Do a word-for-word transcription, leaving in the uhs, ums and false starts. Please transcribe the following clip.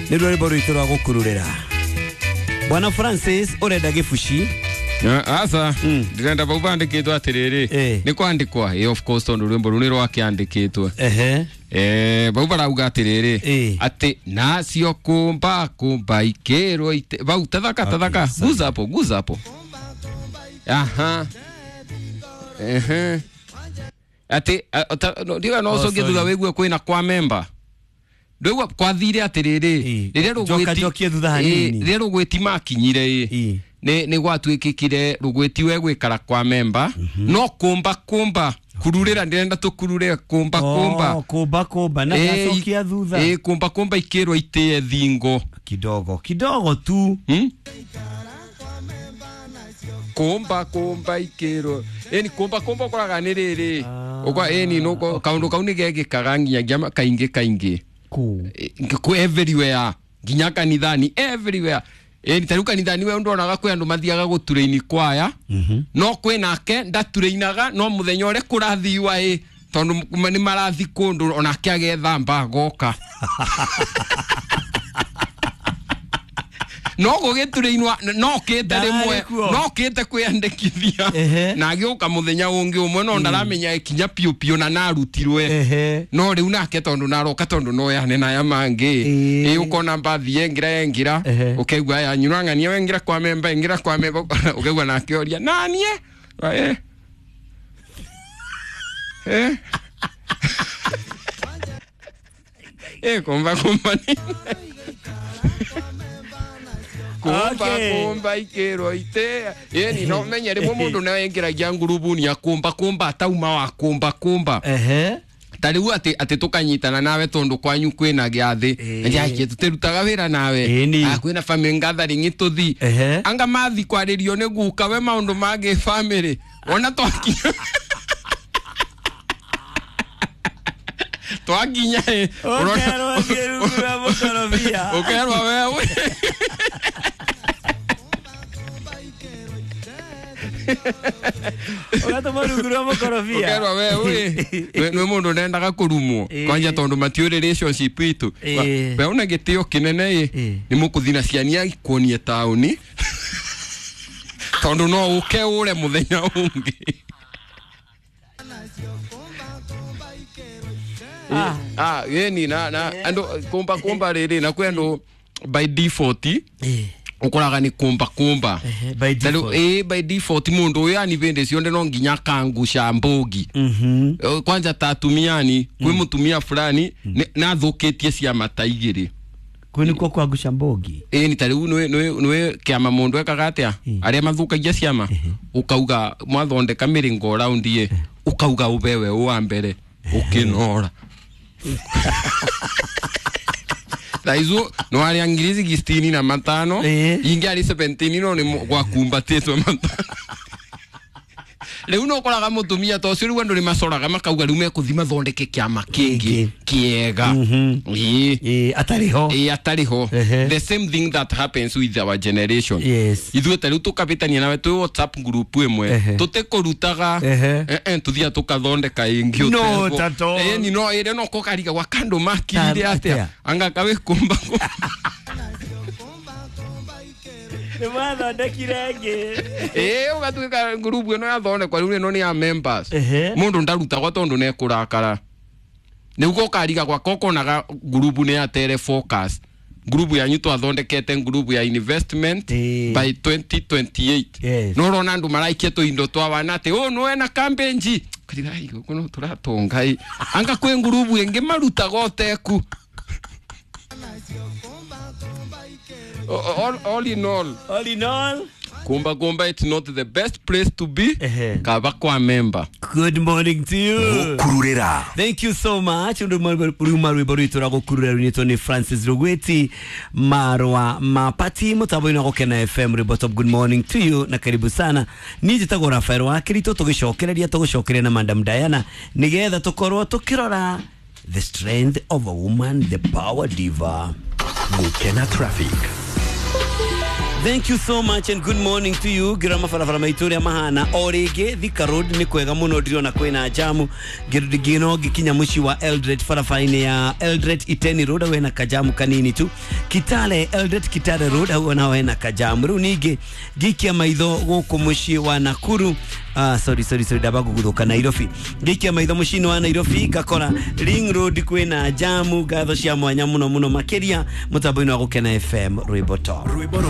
Nĩ rwĩmbo rwitũ rwa gũkururĩra. Bwana Francis ũrenda gĩbuci. Asa ndĩrenda bau bandĩkĩtwo atĩrĩrĩ nĩ kwandĩkwa ĩ of course tondũ rwĩmbo rũu nĩ rwakĩandĩkĩtwo. Ehe. Eh bau barauga atĩrĩrĩ atĩ nacio kumba kumba ikĩrwo ite bau tathaka tathaka guza hapo guza hapo. Aha. Ehe. Ati ndiga no cokie thutha wĩgue kwĩna kwa member. Ndũigua kwathire atĩrĩrĩ rĩrĩa rũgwĩti rĩrĩa rũgwĩti makinyire ĩ nĩ nĩ gwatuĩkĩkire rũgwĩti we gwĩkara kwa member no kumba kumba kururĩra ndĩrenda tũkurure kumba kumba kumba kumba na gacokia thutha ĩ kumba kumba ikĩrwo itĩe thingo kidogo kidogo tu. Hmm? Kumba kumba ikĩrwo ĩni kumba kumba ũkoraga nĩ rĩrĩ ũkwa ĩni no kaũndũ kau nĩ gegĩkaga nginyagia kaingĩ kaingĩ ku ku everywhere nginya kanithani everywhere ĩni tarĩu kanithani we ndonaga kwĩ andũ mathiaga gũturĩini kwaya no kwĩ nake ndaturĩinaga no mũthenya ũrĩa kũrathiwa ĩ tondũ nĩ marathi kũndũ onake agethamba agoka no gũgĩturĩinwa no kĩte rĩmwe no kĩte kwĩandĩkithia na agĩũka mũthenya ũngĩ ũmwe no ndaramenya ĩkinya piũ piũ na narutirwe no rĩu nake tondũ naroka tondũ no yane na aya mangĩ ĩ ũkona mbathi yengira yengira ũkaigua aya nyura ng'ania wengira kwa memba ingira kwa memba ũkaigua nake oria nanie eh eh eh kumba kumba ni kumba kumba ikĩrwo ite ĩni no menye rĩmwe mũndũ nĩ aingĩragia ngurubuni ya kumba kumba atauma wa kumba kumba. Ehe. Ta rĩu atĩ atĩ tũkanyitana nawe tondũ kwanyu kwĩna gĩathĩ njakie tũtirutaga wĩra nawe ah kwĩna family gathering tũthi anga mathi kwarĩrio nĩ guka we maũndũ mangĩ family wona twakinya twakinya ũkerwo thiĩ rwa mũkorobia ũkerwo wewe ũgatũma rungu rwa mũkorobia ũkerwo wewe nĩ mũndũ ndendaga kũrumwo kwanja tondũ matiũĩ relationship itũ we una gĩtĩo kĩnene ĩ nĩ mũkũthi na ciania ikuonie taũni tondũ no ũke ũre mũthenya ũngĩ. Ah yeni na na andũ kumba kumba rĩrĩ na kwĩ andũ by default ũkoraga nĩ kumba kumba by default eh by default mũndũ ũyũ yani vĩndĩ cionde no nginya kangusha mbogi kwanja ta atumiani kwĩ mũtumia fulani na thũkĩtie ciama ta igĩrĩ kwĩ nĩkuo kwangusha mbogi ĩ ni ta rĩu nĩ nĩ kĩama mũndũ ekaga atĩa arĩa mathũkagia ciama ũkauga mwathondeka mĩrĩngo round ĩ ũkauga ũbewe wa mbere ũkĩnora Taizu no arĩa ngiri sixteen na matano ingi arĩ seventeen no nĩ gwakumbatĩtwo matano rĩu no ũkoraga mũtumia ta ũcio rĩu andũ nĩ macoraga makauga rĩu mekũthi mathondeke kĩama kĩngĩ kĩega ĩ atarĩ ho ĩ atarĩ ho. The same thing that happens with our generation. Ithuĩ ta rĩu tũkabĩtania nawe twĩ WhatsApp group ĩmwe tũtekũrutaga eh tũthiaga tũkathondeka ĩngĩ ũtego ĩni no ĩrĩa no kũkariga gwa kandũ makirire atĩa anga kawe kumba nĩ mwathondekire ĩngĩ ĩ ũgatuĩka ngurubu ĩno yathondekwa rĩu ĩno nĩ ya members mũndũ ndarutagwo tondũ nĩ ekũrakara nĩguo ũkariga gwaka ũkonaga ngurubu nĩ yatere focus ngurubu yanyu twathondekete ngurubu ya investment by twenty twenty-eight no ũrona andũ maraikia tũindo twa wana atĩ ũũ nĩwe na kambenji kariga gũkũ no tũratonga ĩ anga kwĩ ngurubu ĩngĩ marutaga ũteku. All, all in all, all in all, kumba kumba, it's not the best place to be. Kaba kwa member. Good morning to you. Kururira. Thank you so much. Ruma rwimbo rwitũ rwa gũkururĩra rwinĩtwo nĩ Francis Rugweti Marwa Mapati mũtambo-inĩ wa Gũkena F M Rwimbo Top. Good morning to you na karibu sana. Niĩ njĩtagwo Rafael wa Kirito, tũgĩcokereria tũgũcokeria na Madam Diana nĩgetha tũkorwo tũkĩrora the strength of a woman, the power diva. Gũkena traffic. Thank you so much and good morning to you. Ngira mabarabara maitũ ũrĩa mahana o rĩngĩ. Thika Road nĩ kwega mũno, ndirona kwĩna jamu. Ngĩno ngĩkinya mũciĩ wa Eldoret, barabara-inĩ ya Eldoret Iten Road hau hena kajamu kanini tu. Kitale, Eldoret Kitale Road hau naho hena kajamu. Rĩu ningĩ ngĩikia maitho gũkũ mũciĩ wa Nakuru, ah, sorry sorry sorry, ndamba gũgũthũka Nairobi. Ngĩikia maitho mũciĩ-inĩ wa Nairobi ngakora Ring Road kwĩna jamu. Ngatho cia mwanya mũno mũno makĩria mũtambo-inĩ wa Gũkena F M, rwĩmbo top. Rwĩmbo.